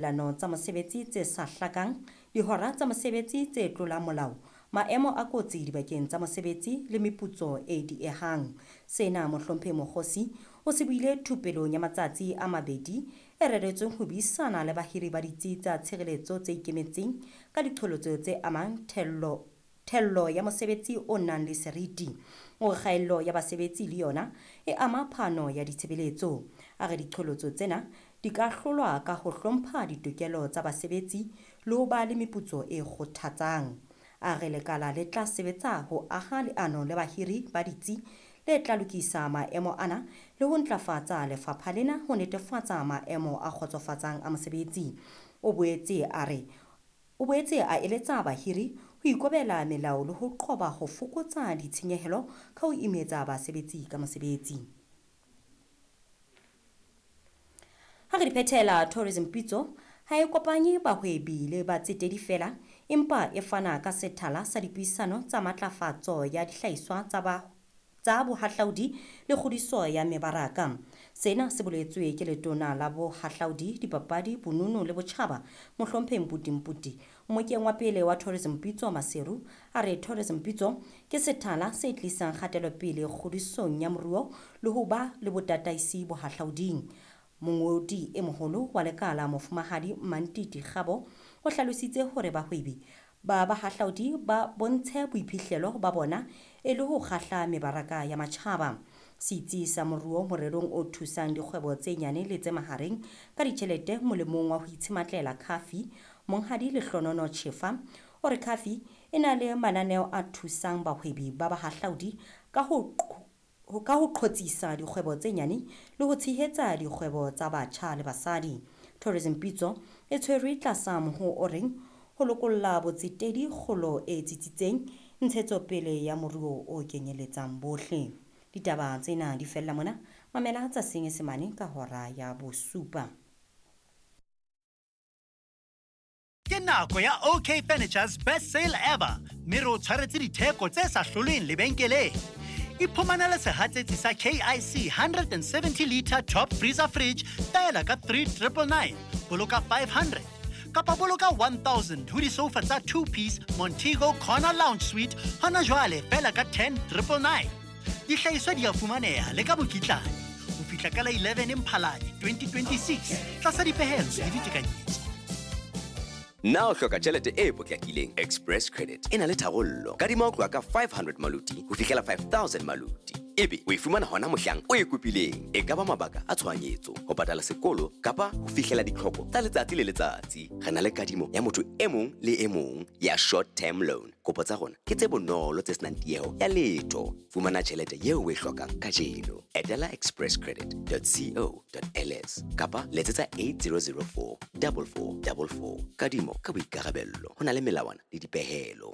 Lano tsa mosebetsi tse sa hlakang, dihora tsa mosebetsi tse tlolang molao, maemo a kotsi dibakeng tsa mosebetsi le meputso e diehang. Sena Mohlomphehi Mokgosi o se buile thupelong ya matsatsi a mabedi e reretsweng ho buisana le bahiri ba ditsi tsa tshireletso tse ikemetseng ka diqholotso tse amang thello ya mosebetsi o nang le seriti. O re kgaello ya basebetsi le yona e ama phano ya ditshebeletso. A re diqholotso tsena di ka hlolwa ka ho hlompha ditokelo tsa basebetsi le ho ba le meputso e kgothatsang. A re lekala le tla sebetsa ho aha leano le bahiri ba ditsi le tla lokisa maemo ana le ho ntlafatsa lefapha lena ho netefatsa maemo a kgotsofatsang a mosebetsi. O boetse a re O boetse a eletsa bahiri ho ikobela melao le ho qoba ho fokotsa ditshenyehelo ka ho imetsa basebetsi ka mosebetsi. Ha re di phethela, Tourism Pitso ha e kopanye bahwebi le batsetedi feela, empa e fana ka sethala sa dipuisano tsa matlafatso ya dihlahiswa tsa ba tsa bohahlaudi le kgodiso ya mebaraka. Sena se boletswe ke Letona la Bohahlaudi, Dipapadi, Bonono le Botjhaba, Mohlomphehi Mputi Mputi, mmokeng wa pele wa Tourism Pitso Maseru. A re Tourism Pitso ke sethala se tlisang kgatelopele kgodisong ya moruo le ho ba le botataisi bohahlauding. Mongodi e moholo wa lekala Mofumahadi Mmantiti Kgabo o hlalositse hore bahwebi ba bahahlaudi ba bontshe boiphihlelo ba bona e le ho kgahla mebaraka ya matjhaba. Setsi sa moruo morerong o thusang dikgwebo tse nyane le tse mahareng ka ditjhelete molemong wa ho itshematlela Khafi, Monghadi Lehlonono Chefa, o re Khafi e na le mananeo a thusang bahwebi ba bahahlaudi ka ho ka ho qhotsisa dikgwebo tse nyane le ho tshehetsa dikgwebo tsa batjha le basadi. Tourism Pitso e tshwerwe tlasa mohoo o reng ho lokolla botsetedi kgolo e tsitsitseng, ntshetsopele ya moruo o kenyeletsang bohle. Ditaba tsena di fella mona, mamela tsa Senyesemane ka hora ya bosupa. Ke nako ya OK Furniture's best sale ever mme re o tshwaretse ditheko tse sa hlolweng lebenkeleng. Iphumanele sehatsetsi sa KIC 170 litre top freezer fridge feela ka 3999, boloka 500 kapa boloka 1000 ho disoufa tsa two piece Montego Corner Lounge Suite hona jwale feela ka 10999. Dihlahiswa di a fumaneha le ka mokitlane ho fihla ka la 11 Mphalane 2026 tlasa dipehelo le ditekanyetso. Na o hloka tjhelete e potlakileng? Express Credit e na le tharollo. Kadima ho tloha ka 500 maluti ho fihlela 5000 maluti. Ebe o e fumana hona mohlang o e kopileng. E ka ba mabaka a tshohanyetso, ho patala sekolo kapa ho fihlela ditlhoko tsa letsatsi le letsatsi. Re na le kadimo ya motho e mong le e mong ya short term loan. Kopo tsa rona ke tse bonolo tse senang tieho ya letho. Fumana tjhelete eo o e hlokang kajeno. Etela expresscredit.co.ls kapa letsetsa 8004 4444. Kadimo ka boikarabello. Ho na le melawana le dipehelo.